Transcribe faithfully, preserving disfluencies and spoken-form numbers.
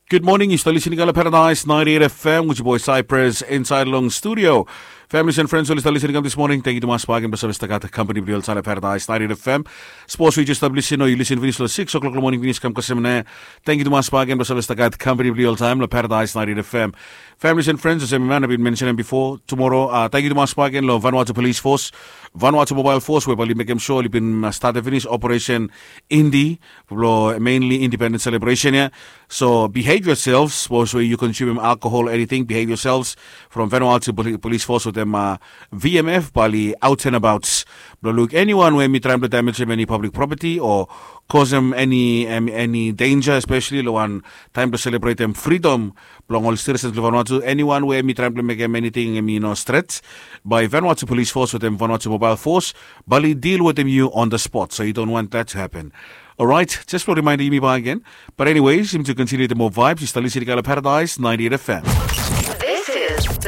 Gud moning, yu stap lisin i kam long Paradise ninety-eight F M with your boy Cypress inside long studio. Families and friends, oli stap lisin i kam this morning. Thank you tumas bagen blong save stap gat company blong yu oltaem long Paradise ninety-eight F M. Sapos yu jes stap lisin o yu lisin finis long six o'clock long moning finis kam kasem ne. Thank you tumas bagen blong save stap gat company blong yu oltaem long Paradise ninety-eight F M. Families and friends, olsem mi man bin mentionem before, tomorrow, uh, thank you tumas bagen long Vanuatu Police Force, Vanuatu Mobile Force, we bali mekem sure oli bin uh, start finis operation Indi, blo mainly independence celebration ya. So behave yourselves, suppose where you consuming alcohol or anything, behave yourselves. From Vanuatu Poli- Police Force with them uh, V M F bali out and about. Blo look anyone where me trying to damage him any public property or cause him any um, any danger, especially lo one time to celebrate them freedom. Blong all citizens lo Vanuatu, anyone where me trying to make him anything me no threat. By Vanuatu Police Force with them Vanuatu Mobile Force, bali deal with them you on the spot. So you don't want that to happen. All right, just for reminder, me back again. But anyways, him to continue the more vibes, you start listening to Paradise ninety-eight F M. This is the